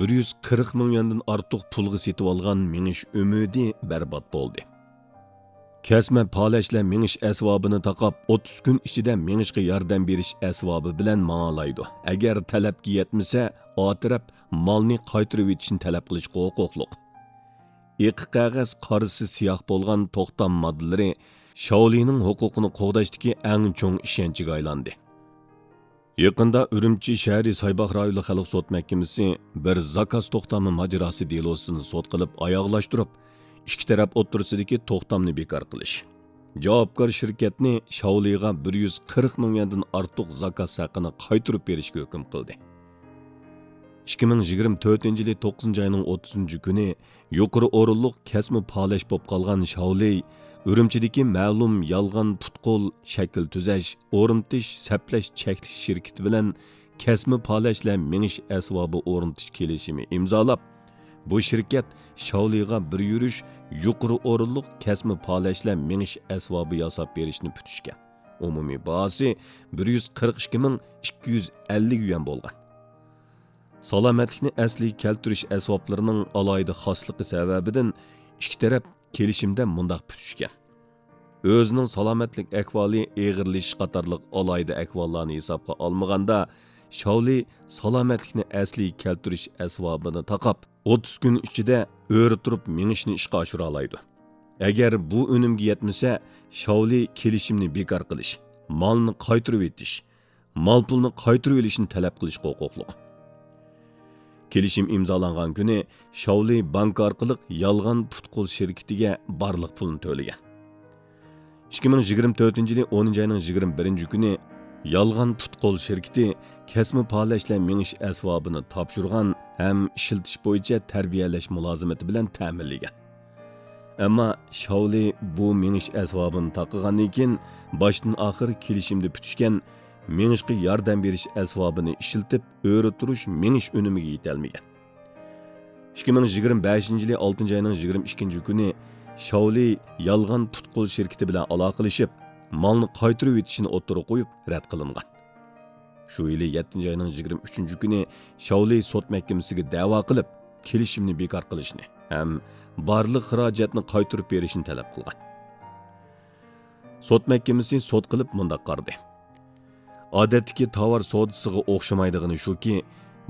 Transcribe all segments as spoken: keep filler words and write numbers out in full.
بىر يۈز قىرىق مىڭ يۈەندىن ئارتۇق پۇلغا سېتىۋالغان مېڭىش ئۈمىدى بەربات بولدى. كەسمە پالەچلەر مېڭىش ئەسۋابىنى تاقاپ، ئوتتۇز كۈن ئىچىدە مېڭىشقا ياردەم بېرىش ئەسۋابى بىلەن ماڭالايدۇ. ئەگەر تەلەپكە يەتمىسە، ئا تەرەپ مالنى قايتۇرۇۋېتىشنى تەلەپ قىلىشقا ھوقۇقلۇق. ئېقى قەغەز، قارىسى سىياھ بولغان توختام ماددىلىرى شاۋلىنىڭ ھوقۇقىنى قوغداشتىكى ئەڭ چوڭ ئىشەنچىگە ئايلاندى. يېقىندا ئۈرۈمچى شەھىرى سايباغ رايونلۇق خەلق سوت مەھكىمىسى بىر زاكاز توختامى ماجىراسى دېلوسىنى سوت قىلىپ ئاياغلاشتۇرۇپ، ئىككى تەرەپ ئوتتۇرىسىدىكى توختامنى بىكار قىلىش، جاۋابكار شىركەتنى شاۋلىغا بىر يۈز قىرىق مىڭ يۈەندىن ئارتۇق زاكاز ھەققىنى قايتۇرۇپ بېرىشكە ھۆكۈم قىلدى. ئىككى مىڭ يىگىرمە تۆتىنچى يىلى توققۇزىنچى ئاينىڭ ئوتتۇزىنچى كۈنى يۇقىرى ئورۇنلۇق كەسمە پالەچ بولۇپ قالغان شاۋلى ئۈرۈمچىدىكى مەلۇم يالغان پۇت-قول شەكىل تۈزەش، ئورنىتىش، سەپلەش چەكلىك شىركىتى بىلەن كەسمە پالەچلەر مېڭىش ئەسۋابى ئورنىتىش كېلىشىمى ئىمزالاپ، بۇ شىركەت شاۋلىغا بىر يۈرۈش يۇقىرى ئورۇنلۇق كەسمە پالەچلەر مېڭىش ئەسۋابى ياساپ بېرىشنى پۈتۈشكەن. ئومۇمىي باھاسى بىر يۈز قىرىق ئىككى مىڭ ئىككى يۈز ئەللىك يۈەن بولغان. سالامەتلىكنى ئەسلىگە كەلتۈرۈش ئەسۋابلىرىنىڭ ئالاھىدە خاسلىقى سەۋەبىدىن ئىككى تەرەپ كېلىشىمدە مۇنداق پۈتۈشكەن. ئۆزىنىڭ سالامەتلىك ئەھۋالى ئېغىرلىشىش قاتارلىق ئالاھىدە ئەھۋاللارنى ھېسابقا ئالمىغاندا، شاۋلى سالامەتلىكنى ئەسلىگە كەلتۈرۈش ئەسۋابىنى تاقاپ، ئوتتۇز كۈن ئىچىدە ئۆرە تۇرۇپ مېڭىشنى ئىشقا ئاشۇرالايدۇ. ئەگەر بۇ ئۈنۈمگە يەتمىسە، شاۋلى كېلىشىمنى بىكار قىلىش، مالنى قايتۇرۇۋېتىش، مال-پۇلنى قايتۇرۇۋېلىشنى تەلەپ قىلىشقا ھوقۇقلۇق. كېلىشىم ئىمزالانغان كۈنى شاۋلى بانكا ئارقىلىق يالغان پۇت-قول شىركىتىگە بارلىق پۇلنى تۆلىگەن. ئىككى مىڭ يىگىرمە تۆتىنچى يىلى ئونىنچى ئاينىڭ يىگىرمە بىرىنچى كۈنى يالغان پۇت-قول شىركىتى كەسمە پالەچلەر مېڭىش ئەسۋابىنى تاپشۇرغان ھەم ئىشلىتىش بويىچە تەربىيەلەش مۇلازىمىتى بىلەن تەمىنلىگەن. ئەمما شاۋلى بۇ مېڭىش ئەسۋابىنى تاقىغاندىن كېيىن، باشتىن ئاخىر كېلىشىمدە پۈتۈشكەن مېڭىشقا ياردەم بېرىش ئەسۋابىنى ئىشلىتىپ، ئۆرە تۇرۇش مېڭىش ئۈنۈمىگە يېتەلمىگەن. ئىككى مىڭ يىگىرمە بەشىنچى يىلى ئالتىنچى ئاينىڭ يىگىرمە ئىككىنچى كۈنى شاۋلى يالغان پۇت-قول شىركىتى بىلەن ئالاقىلىشىپ، مالنى قايتۇرۇۋېتىشىنى ئوتتۇرىغا قويۇپ، رەت قىلىنغان. شۇ يىلى يەتتىنچى ئاينىڭ يىگىرمە ئۈچىنچى كۈنى شاۋلى سوت مەھكىمىسىگە دەۋا قىلىپ، كېلىشىمنى بىكار قىلىشنى ھەم بارلىق خىراجەتنى قايتۇرۇپ بېرىشنى تەلەپ قىلغان. سوت مەھكىمىسى سوت قىلىپ مۇنداق قارىدى. ئادەتتىكى تاۋار سودىسىغا ئوخشىمايدىغىنى شۇكى،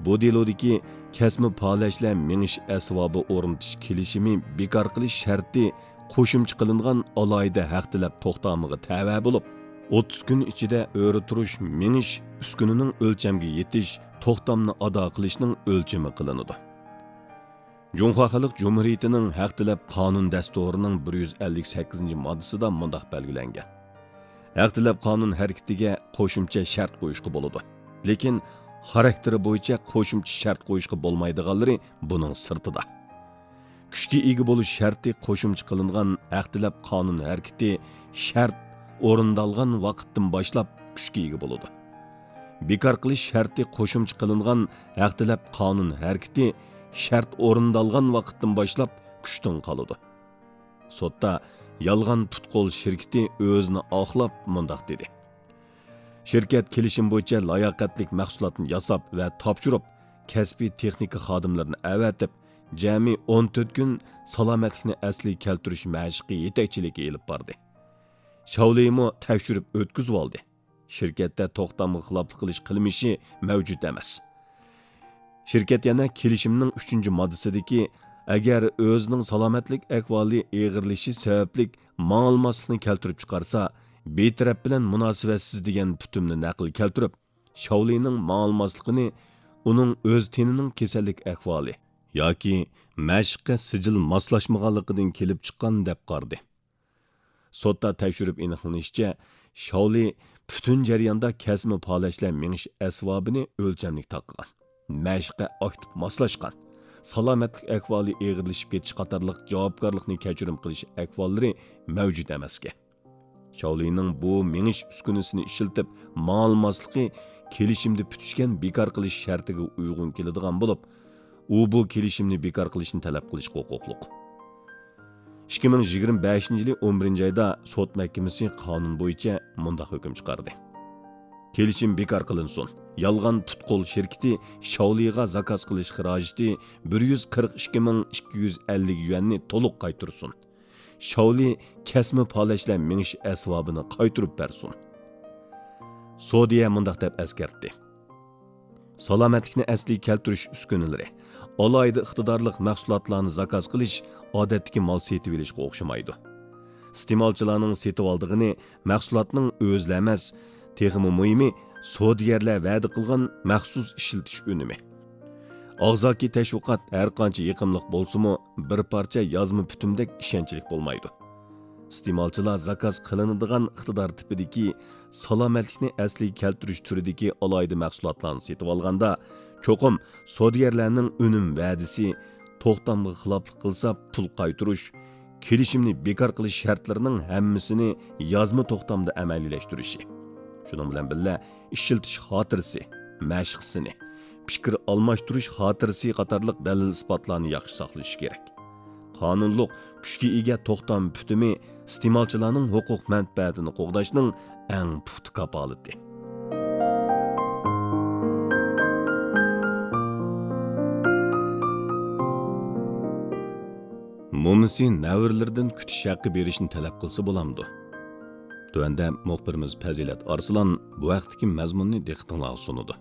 بۇ دېلودىكى كەسمە پالەچلەر مېڭىش ئەسۋابى ئورنىتىش كېلىشىمى بىكار قىلىش شەرتى قوشۇمچە قىلىنغان ئالاھىدە ھەق تەلەپ توختامىغا تەۋە بولۇپ، ئوتتۇز كۈن ئىچىدە ئۆرە تۇرۇش مېڭىش ئۈسكۈنىنىڭ ئۆلچەمگە يېتىش توختامنى ئادا قىلىشنىڭ ئۆلچىمى قىلىنىدۇ. جۇڭخۇا خەلق جۇمھۇرىيىتىنىڭ ھەق تەلەپ قانۇن دەستۇرىنىڭ بىر يۈز ئەللىك سەككىزىنچى ماددىسىدا مۇنداق بەلگىلەنگەن: ھەق تەلەپ قانۇن ھەرىكىتىگە قوشۇمچە شەرت قويۇشقا بولىدۇ. لېكىن خاراكتېرى بويىچە قوشۇمچە شەرت قويۇشقا بولمايدىغانلىرى بۇنىڭ سىرتىدا. كۈچكە ئىگە بولۇش شەرتى قوشۇمچە قىلىنغان ھەق تەلەپ قانۇن ھەرىكىتى شەرت ئورۇندالغان ۋاقىتتىن باشلاپ كۈچكە ئىگە بولىدۇ. بىكار قىلىش شەرتى قوشۇمچە قىلىنغان ھەق تەلەپ قانۇن ھەرىكىتى شەرت ئورۇندالغان ۋاقىتتىن باشلاپ كۈچتىن قالىدۇ. سوتتا يالغان پۇت-قول شىركىتى ئۆزىنى ئاقلاپ مۇنداق دېدى: شىركەت كېلىشىم بويىچە لاياقەتلىك مەھسۇلاتنى ياساپ ۋە تاپشۇرۇپ، كەسپىي تېخنىكا خادىملىرىنى ئەۋەتىپ، جەمئىي ئون تۆت كۈن سالامەتلىكنى ئەسلىگە كەلتۈرۈش مەشىقى يېتەكچىلىكى ئېلىپ باردى. شاۋلىمۇ تەكشۈرۈپ ئۆتكۈزۈۋالدى. شىركەتتە توختامغا خىلاپلىق قىلىش قىلمىشى مەۋجۇت ئەمەس. شىركەت يەنە كېلىشىمنىڭ ئۈچىنچى ماددىسىدىكى، ئەگەر ئۆزىنىڭ سالامەتلىك ئەھۋالى ئېغىرلىشىش سەۋەبلىك ماڭالماسلىقنى كەلتۈرۈپ چىقارسا، بىر تەرەپ بىلەن مۇناسىۋەتسىز دېگەن پۈتۈمنى نەقىل كەلتۈرۈپ، شاۋلىنىڭ ماڭالماسلىقىنى ئۇنىڭ ئۆز تېنىنىڭ كېسەللىك ئەھۋالى ياكى مەشىققە سىجىل ماسلاشمىغانلىقىدىن كېلىپ چىققان دەپ قارىدى. سوتتا تەكشۈرۈپ ئېنىقلىنىشىچە، شاۋلى پۈتۈن جەرياندا كەسمە پالەچلەر مېڭىش ئەسۋابىنى ئۆلچەملىك تاقىغان، مەشىققە ئاكتىپ ماسلاشقان، سالامەتلىك ئەھۋالى ئېغىرلىشىپ كېتىش قاتارلىق جاۋابكارلىقنى كەچۈرۈم قىلىش ئەھۋاللىرى مەۋجۇت ئەمەسكەن. شاۋلىنىڭ بۇ مېڭىش ئۈسكۈنىسىنى ئىشلىتىپ ماڭالماسلىقى كېلىشىمدە پۈتۈشكەن بىكار قىلىش شەرتىگە ئۇيغۇن كېلىدىغان بولۇپ، ئۇ بۇ كېلىشىمنى بىكار قىلىشنى تەلەپ قىلىشقا ھوقۇقلۇق. ئىككى مىڭ يىگىرمە بەشىنچى يىلى ئون بىرىنچى ئايدا سوت مەھكىمىسى قانۇن بويىچە مۇنداق ھۆكۈم چىقاردى: كېلىشىم بىكار قىلىنسۇن. يالغان پۇت-قول شىركىتى شاۋلىغا زاكاز قىلىش خىراجىتى بىر يۈز قىرىق ئىككى مىڭ ئىككى يۈز ئەللىك يۈەننى تولۇق قايتۇرسۇن. شاۋلى كەسمە پالەچلەر مېڭىش ئەسۋابىنى قايتۇرۇپ بەرسۇن. سودىيە مۇنداق دەپ ئەسكەرتتى: سالامەتلىكنى ئەسلىگە كەلتۈرۈش ئۈسكۈنىلىرى، ئالاھىدە ئىقتىدارلىق مەھسۇلاتلارنى زاكاز قىلىش ئادەتتىكى مال سېتىۋېلىشقا ئوخشىمايدۇ. ئىستېمالچىلارنىڭ سېتىۋالىدىغىنى مەھسۇلاتنىڭ ئۆزىلا ئەمەس، تېخىمۇ مۇھىمى، سودىگەرلەر ۋەدە قىلغان مەخسۇس ئىشلىتىش ئۈنۈمى. ئاغزاكى تەشۋىقات ھەرقانچە يېقىملىق بولسىمۇ، بىر پارچە يازما پۈتۈمدەك ئىشەنچلىك بولمايدۇ. ئىستېمالچىلار زاكاز قىلىنىدىغان ئىقتىدار تىپىدىكى سالامەتلىكنى ئەسلىگە كەلتۈرۈش تۈرىدىكى ئالاھىدە مەھسۇلاتلارنى سېتىۋالغاندا، چوقۇم سودىگەرلەرنىڭ ئۈنۈم ۋەدىسى، توختامغا خىلاپلىق قىلسا پۇل قايتۇرۇش، كېلىشىمنى بىكار قىلىش شەرتلىرىنىڭ ھەممىسىنى يازما توختامدا ئەمەلىيلەشتۈرۈشى، شۇنىڭ بىلەن بىللە، ئىشلىتىش خاتىرىسى، مەشىق سىنى، پىكىر ئالماشتۇرۇش خاتىرىسى قاتارلىق دەلىل-ئىسپاتلارنى ياخشى ساقلىشى كېرەك. قانۇنلۇق كۈچكە ئىگە توختام پۈتۈمى ئىستېمالچىلارنىڭ ھوقۇق مەنپەئەتىنى قوغداشنىڭ ئەڭ پۇختا كاپالىتى. مومىسى نەۋرىلىرىدىن كۈتۈش ھەققى بېرىشنى تەلەپ قىلسا بولامدۇ؟ تۆۋەندە مۇخبىرىمىز پەزىلەت ئارسلان بۇ ھەقتىكى مەزمۇننى دىققىتىڭلارغا سۇنىدۇ.